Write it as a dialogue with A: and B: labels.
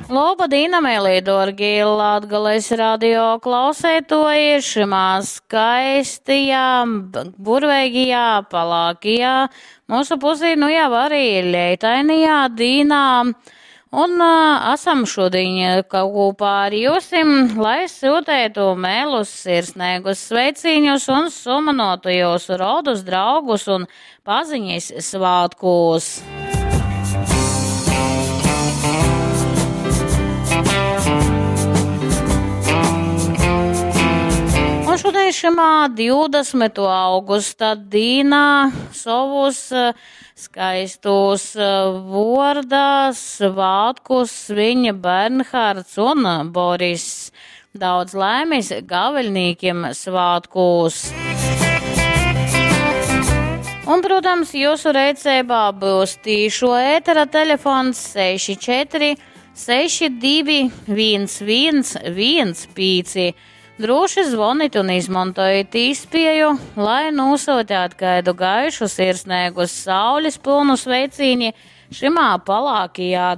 A: Loba dīna, meilī, dōrgī Latgales radio klausētoji šimā skaistajā, burveigajā, palākajā, mūsu pusī nu jau arī leitainajā dīnā. Un uh, esam šodien kopā ar jūsim, lai sūtētu mēlus, sirsnīgus sveicīņus un sumanotu jūsu rodus, draugus un paziņas svātkūs. Un šodien šimā 20. Augusta dīnā savus skaistus vorda svātkus sviņ Bernhards un Boris. Daudz laimes gaveļnīkiem svātkūs. Un, protams, jūsu rīcībā būs tīšo ētera telefons 64 62 11 15. Droši zvoniet un izmantojiet īspēju, lai nosūtītu kādu gaišu, sirsnīgu, saules pilnu sveicīni šimā palākajā dienā.